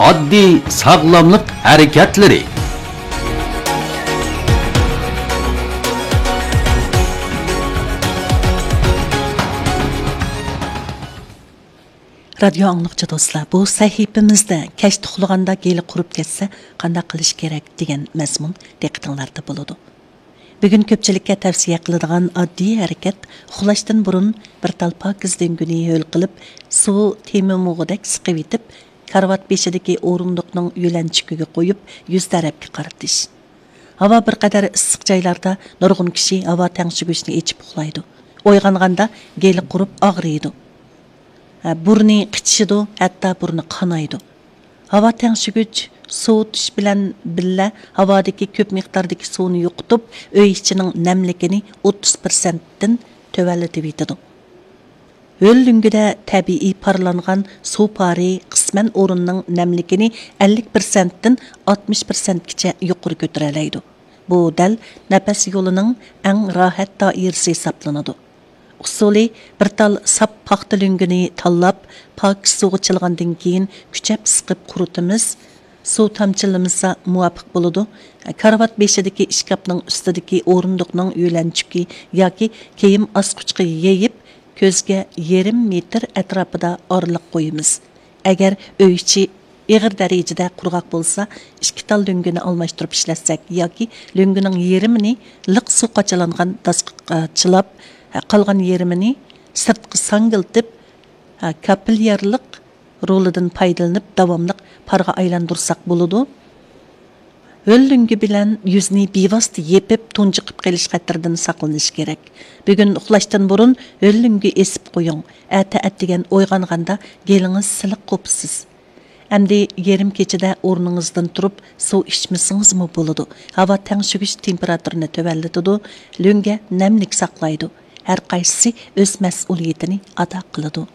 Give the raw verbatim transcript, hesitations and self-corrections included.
ئاددىي ساغلاملىق ھەرىكەتلىرى. رادىيو ئاڭلىغۇچى دوستلار، بۇ سەھىپىمىزدە كەچتە ئۇخلىغاندا گېلى قۇرۇپ كەتسە قانداق قىلىش كېرەك دېگەن مەزمۇن دىققىتىڭلاردا بولىدۇ. بۈگۈن كۆپچىلىككە تەۋسىيە قىلىدىغان ئاددىي ھەرىكەت، ئۇخلاشتىن بۇرۇن بىر تال پاكىز لۆڭگىنى ھۆل قىلىپ، سۇ تېمىمۇغۇدەك سىقىۋېتىپ، كارىۋات بېشىدىكى ئورۇندۇقنىڭ يۆلەنچۈكىگە قويۇپ، يۈز تەرەپكە قارىتىش. ھاۋا بىر قەدەر ئىسسىق جايلاردا نۇرغۇن كىشى ھاۋا تەڭشىگۈچنى ئېچىپ ئۇخلايدۇ. ئويغانغاندا گېلى قۇرۇپ ئاغرىيدۇ. ھە، بۇرنى قىچىشىدۇ، ھەتتا بۇرنى قانايدۇ. ھاۋا تەڭشىگۈچ سوۋۇتۇش بىلەن بىللە ھاۋادىكى كۆپ مىقداردىكى سۇنى يوقىتىپ، ئۆي ئىچىنىڭ نەملىكىنى ئوتتۇز پىرسەنتتىن تۆۋەنلىتىۋېتىدۇ. ھۆل لۆڭگىدە تەبىئىي پارلانغان سۇ پارى قىسمەن ئورۇننىڭ نەملىكىنى ئەللىك پىرسەنتتىن ئاتمىش پىرسەنتكىچە يۇقىرى كۆتۈرەلەيدۇ. بۇ دەل نەپەس يولىنىڭ ئەڭ راھەت دائىرىسى ھېسابلىنىدۇ. ئۇسۇلى، بىر تال ساپ پاختا لۆڭگىنى تاللاپ، پاكىز سۇغا چىلىغاندىن كېيىن كۈچەپ سىقىپ قۇرۇتىمىز. سۇ تامچىلىمىسا مۇۋاپىق بولىدۇ. كارىۋات بېشىدىكى ئىشكاپنىڭ ئۈستىدىكى ئورۇندۇقنىڭ يۆلەنچۈكى ياكى كىيىم ئاسقۇچقا يېيىپ، كۆزگە يېرىم مېتىر ئەتراپىدا ئارىلىق قويىمىز. ئەگەر ئۆي ئىچى ئېغىر دەرىجىدە قۇرغاق بولسا، ئىككى تال لۆڭگىنى ئالماشتۇرۇپ ئىشلەتسەك ياكى لۆڭگىنىڭ يېرىمىنى لىق سۇ قاچىلانغان داسقا چىلاپ، قالغان يېرىمىنى سىرتقا ساڭگىلىتىپ، كاپىليارلىق رولىدىن پايدىلىنىپ داۋاملىق پارغا ئايلاندۇرساق بولىدۇ. ھۆل لۆڭگە بىلەن يۈزنى بىۋاسىتە يېپىپ، تۇنجۇقۇپ قېلىش خەتىرىدىن ساقلىنىش كېرەك. بۈگۈن ئۇخلاشتىن بۇرۇن ھۆل لۆڭگە ئېسىپ قويۇڭ. ئەتە ئەتىگەن ئويغانغاندا گېلىڭىز سىلىق قوپىسىز. ئەمدى يېرىم كېچىدە ئورنىڭىزدىن تۇرۇپ سۇ ئىچمىسىڭىزمۇ بولىدۇ. ھاۋا تەڭشىگۈچ تېمپېراتۇرىنى تۆۋەنلىتىدۇ، لۆڭگە نەملىك ساقلايدۇ. ھەر قايسىسى ئۆز مەسئۇلىيىتىنى ئادا قىلىدۇ.